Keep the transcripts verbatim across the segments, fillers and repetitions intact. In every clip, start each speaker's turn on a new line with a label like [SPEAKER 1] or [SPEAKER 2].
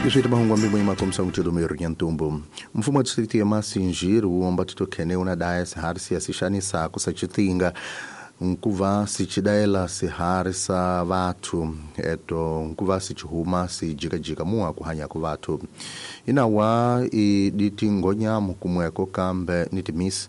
[SPEAKER 1] Iswita mahungu ambi makomsa mutelo meru nyantumbo. Mfumo wa distrito ya Masinjiro uomba titokhene una daya sihari siya sixanisa kusachitinga nkuva sichidaela sihari sa vathu eto nkuva sichihuma sijikajika mua kuhanya ku vathu inawa iditi ngonyamu kumweko kambe nitimisi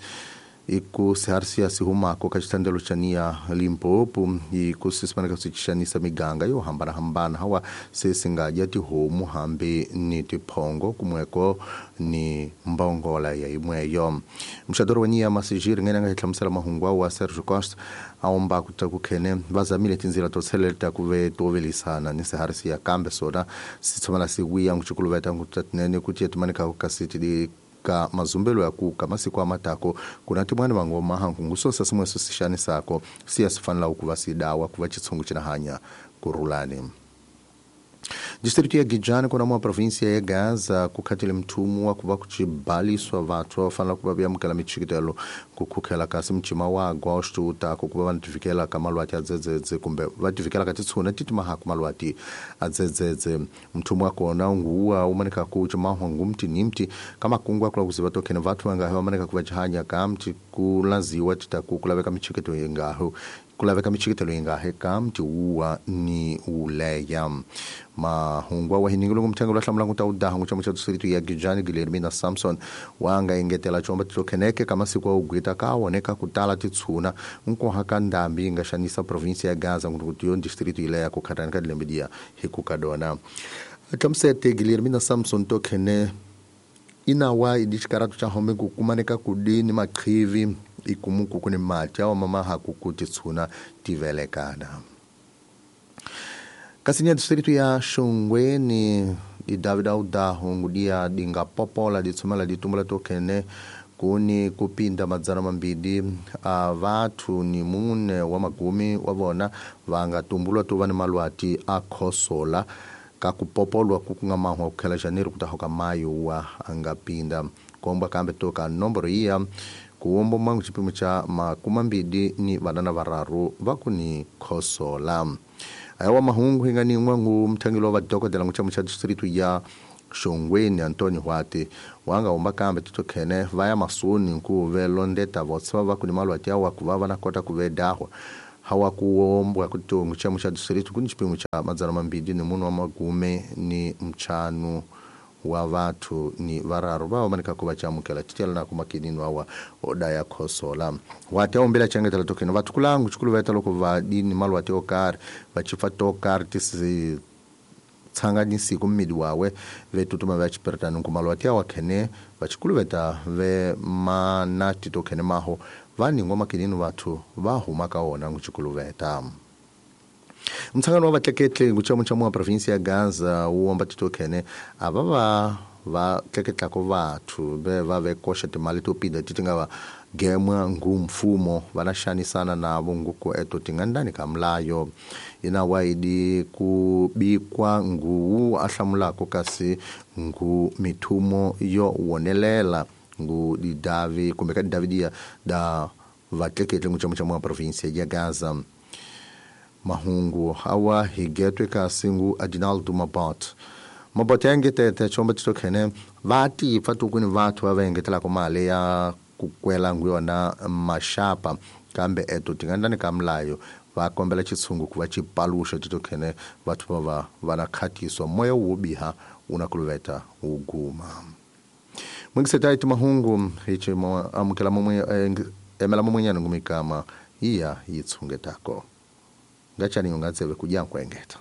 [SPEAKER 1] iku sihari siya sihumako ka xitandelo xa niya Limpopo iku sisimaneka sixanisa miganga yo hambanahambana hawa se singadya tihomu hambi ni tiphongo kumweko ni mbongola ya imweyo. Mxadoro wa niya Masijiri ngene nga hi hlamusela mahungu wa Sergio Costa aomba ku ta ku khene va zamile tindzila to tsheleleta ku ve to velisana ni sihari siya kambe sona si tshamela si wiya nguchikuluveta ngutatinene ku tiya ka kasi ti ka mazumbelo ya kuka masiku amatako kuna timwana vangoma hangu ngusosa simwe sishanisako siya sifanela ukuva sidawa kuva chitsungu chinahanya kurulani. Distrito ya Gijani kuna mwa província ya Gaza kukhatile mthumu wa kuva kuchibaliswa vathu vafanela kuva vyamukela michikitelo kukhukhela kasi mchima wa agosto utako kuva vanativikela ka malwati adzedzedze kumbe vativikela ka titshuna titimahaku malwati adzedzedze. Mthumu wa kona unguwa umanika kuchimahwa ngumti nimti kama kungwa kula kuziva tokhene vathu vangahe vamanika kuva chihanya kamti kulaziwa titaku kulaveka michikito yengaho kulaveka michikitelo yengahe kamti uwa ni uleya. Mahungwa wa hiningilo kumthengo lwa hlamula nguta udaha nguchama cha distrito ya Gijani Guilhermina Samson wanga engetela chomba titokheneke kama siku wa ugwita kaoneka kutala titshuna nkoha ka ndambi inga xanisa província ya Gaza nguti yo distrito ile ya kukhatani ka dilembe dia hikukadona. Hlamusete Guilhermina Samson tokhene inawa idichikaratu cha home kukumaneka kudini maqhivi ikumuku kuni mati awa mama hakuku titshuna tivelekana. Kasi distrito ya Xongweni di David Audaho ngudia dinga popola ditsumela ditumula tokene kuni kupinda madzana mambili a vathu ni mune wa magumi wa vona vanga tumbulwa tuva ni malwati a khosola ka kupopolwa kukunga mahwa kukhela janeiro kutahoka mayo wa angapinda komba kambe toka nomboro iya kuombo mwangu chipimo cha makumambili ni vanana vararu vakuni khosola. Ayawa mahungu hingani mwangu mthangilo wa dokodela nguchama cha distrito ya Xongweni Antonio Huate wanga omba kambe titokhene vaya masoni nkuve londeta votsva vakuni malwati awa kuva vanakota kuvedahwa hawa kuombwa kuti nguchama cha distrito kuni chipimo cha madzana mambili ni munu wa magume ni mchanu wa vathu ni vararu va vamanika kuva chamukela titela na kumakinini wawa odaya khosola. Wati aombela changetela tokhene vathu kulangu chikulu vaita loko vadini malwati okari vachifa tokari tisi tsanganisi kummidi wawe vetutuma vachiperetani nkumalwati awa khene vachikulu veta ve manati tokhene maho vaningwa makinini vathu va huma ka wona nguchikulu veta. Mtsangano wa vatleketli nguchamo cha mwa província ya Gaza uomba titokhene ava va va tleketlako vathu ve va vekoxa timali to pinda ti nga va gemwa ngu mfumo vana xanisana navo nguku eto tingandani ka mlayo ina waidi kubikwa nguwu ahlamulako kasi ngu mithumo yo wonelela ngu didavi kumbe ka didavi dia da vatleketli nguchamo cha mwa província ya Gaza. Mahungu hawa higetwe kasingu Adinaldo Mabot Mabot yangetete chomba titokhene vati fatukuni vathu vavengetela kumali ya kukwela nguyona mashapa kambe eto tingandani kamlayo vakombela chitsungu kuva chipalusha titokhene vathu vava vanakhatiswa moya wobiha unakuluveta uguma. Mwingisetaiti mahungu hichi amukela mumwe emela mumwenyana ngumikama iya yitsungetako. Ngachani ungatseve kuja nkwengeta.